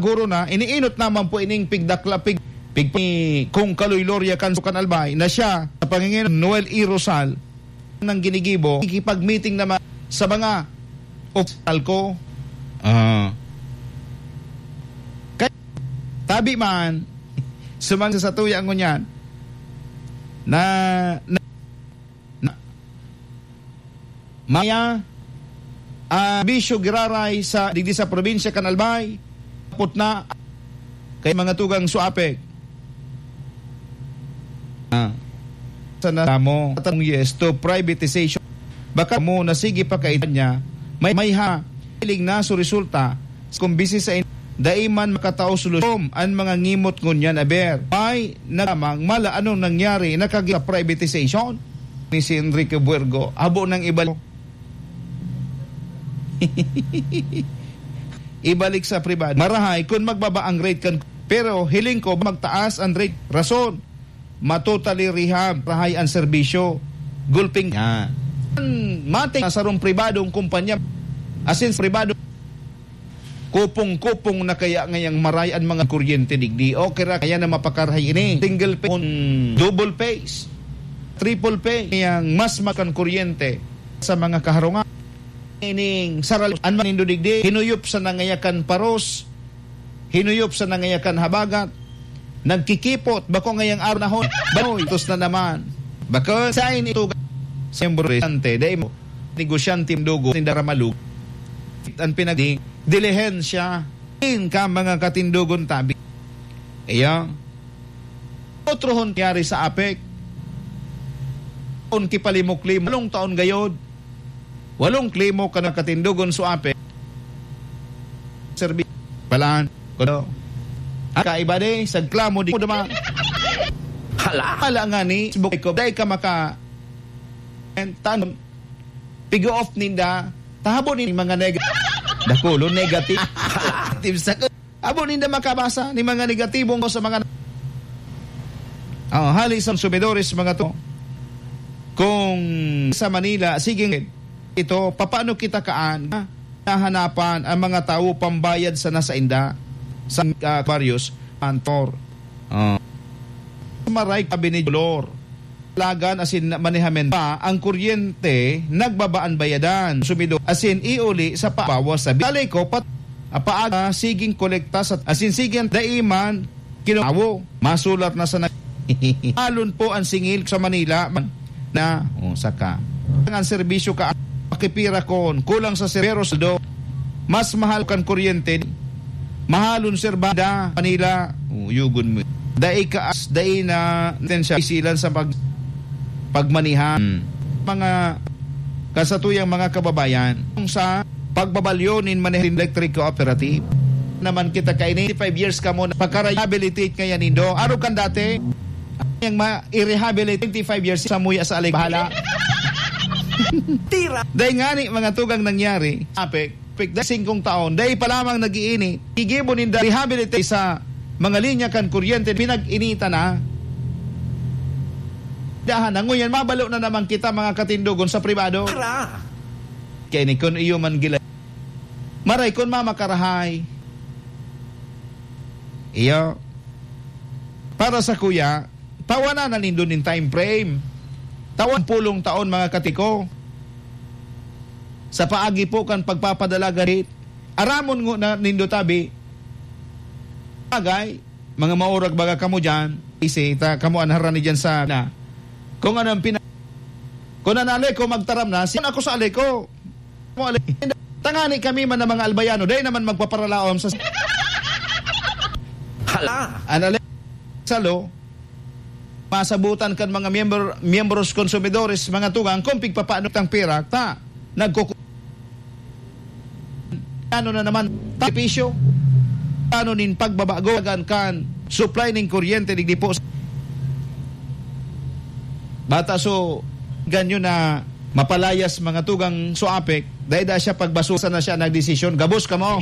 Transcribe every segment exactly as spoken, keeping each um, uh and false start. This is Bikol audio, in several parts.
Siguro na, iniinot naman po ining pigdakla, pig-, pig-, ni Kong Kaloy Loria Canso kan Albay na siya sa pangingin Noel E. Rosal nang ginigibo, ikipag-meeting naman sa mga opisyal ko. Ah. Kaya, tabi man, sumang sa satuya ngunyan, na, na, na, maya, ah, bisyo giraray sa, digdi sa probinsya kan Albay, kapot na, kay mga tugang Suapec. Ah. Sana mo, yes to privatization. Baka mo na sige pa kaitan niya, may, may ha, hiling na so resulta, kung bisi sa in-, dai man makatao solusyon an mga ngimot ngunyan aber. May nagamang mala anong nangyari na kagi sa privatization ni si Enrique Buergo. Abo nang ibalik. Ibalik sa pribado. Marahay kung magbaba ang rate kan, pero hiling ko magtaas ang rate. Rason, matotally rehab, rahay ang serbisyo. Gulping niya. Ang mating sa sarong pribadong kumpanya, asin pribado, kupong-kupong na kaya ngayang maray ang mga kuryente digdi. Okay ra, kaya na mapakarahay ini. Single phase, double phase, triple phase. Yang mas makan kuryente sa mga kaharungan. Ining saral, an manindo digdi, hinuyop sa nangayakan paros, hinuyop sa nangayakan habagat, nagkikipot, bako ngayang araw na hon, banoy, tos na naman. Bako sa ini tuga, siyempre, ante, dai mo, negosyante, dugo, tinda ramalug. An pinag-, dilihensya, in ka mga katindogon tabi. Iya, otro hon nangyari sa apek, on kipalimok-limok, walong taon gayod, walong klimo ka nakatindogon sa apek. Serbi-, palaan, kuno. Ang kaiba di, sa klamo di mo duman. Hala! Hala nga ni, bukay ko, dai ka maka-, and tan-, pigo-off ninda, tahabo ni mga neg-, dakulo, negative. Hala! Active sa Abo ninda makabasa ni mga negatibong sa mga, oh, hali sa konsumidores, mga to. Kung sa Manila, sige, ito, papaano kita kaan nahanapan ang mga tawo pambayad sa nasa inda sa, ah, baryos, antor. Oh. Maray, sabi ni Dolor. Lagan asin manehamen pa ang kuryente, nagbabaan bayadan, sumido, asin iuli sa pabawas sa bi-, Alay ko, pat-, paaga, siging kolekta sa, asin siging daiman, kinawo, masulat na sa na-, alon po ang singil sa Manila, man, na, oh, saka. Ang serbisyo ka, pakipira kon, kulang sa serbero, saldo, mas mahal kan kuryente, mahalon, sir, banda, Manila, oh, yugon mo. Dai kaas, dai na, tensya, isilan sa pag-, pagmanihan. Hmm. Mga kasatuyang mga kababayan, kung sa pagbabalyo nin maneho nin electric cooperative, naman kita kaini, five years ka mo, pagka-rehabilitate kaya nindo. Araw kan dati, yang ma-, i-rehabilitate twenty-five years sa muya sa alig bahala. Tira! Dai ngani, mga tugang nangyari, apek, Pigda singkong taon, dai pa lamang nag-iinit. Gigibo ninda rehabilitate sa mga linya kan kuryente, pinag-initan na. Dahan na, ngunyan mabalo na naman kita, mga katindogon, sa pribado. Tara! Kaya ni kun iyo man gila-, maray kun mamakarahay. Iyo. Para sa kuya, tawanan na nindo nin time frame. Tawan pulong taon, mga katiko. Sa paagi po kan pagpapadala gahit, aramon ngo na nindo tabi. Bagay, mga maurag baga kamo diyan, isi ta kamo an harani diyan sa na. Kung ano ang pina-, kung an Aleco magtaram na, siya ako sa Aleco. Mo, ale-, tangani kami man na mga Albayano, dai naman magpaparalaom sa Hala! An ale-, salo, masabutan kan mga miyembro, miyembros konsumidores, mga tugang, kung pigpapaano tang pira, ta, nagkuku-, ano na naman, tapisyo, ano nin pagbabago, kan, kan supply nin kuryente, digdi po. Bata so, ganyo na mapalayas mga tugang Suapek, dai da siya pagbasusan na siya nagdesisyon. Gabos kamo.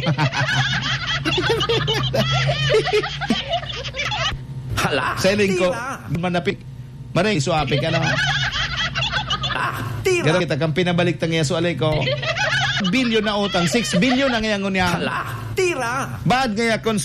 Hala, Sa iling ko, tira. Manapik. Maray, Suapek, ano? Ah, tira. Garo kita kang pinabalik tang iya, Sualay ko. Bilyon na utang, six billion ang iyang unya. Hala, tira. Baad ngaya kon